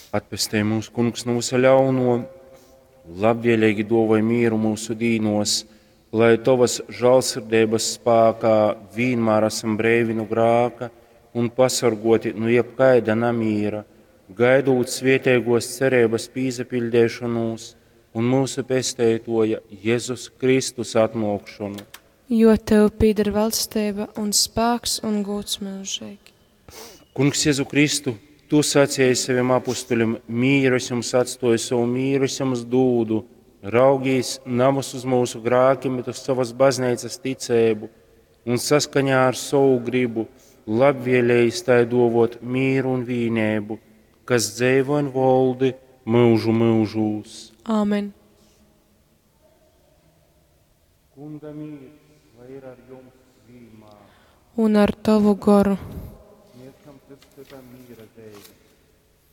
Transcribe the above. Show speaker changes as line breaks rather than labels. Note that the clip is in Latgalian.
Atpestej mūs, Kungs, no visa ļauno, labvēlīgi duovoj mīru mūsu dīnos, lai Tavas žālsirdeibas spākā vienmēr esam breivi no grāka un pasargoti no jebkaida namīra, gaidot svētīgos cerības pīzapildīšanos un mūsu pesteitoja Jēzus Kristus atnākšanu.
Jo tev pieder valstība un spēks un gods mūžīgi.
Kungs Jēzu Kristu, Tu sacīji saviem apustuļiem, mīru es jums atstoju, savu mīru es jums dūdu, raugīs navas uz mūsu grākiem, bet uz savas baznīcas ticēbu un saskaņā ar savu gribu labvēlējis tai dovot mīru un vīnēbu, kas dzeivo un voldi mūžu mūžūs.
Āmen.
Kunga mīrs, lai ir ar jums vienmēr.
Un ar tavu goru.
Sniegšam cits citam mīra zīmi.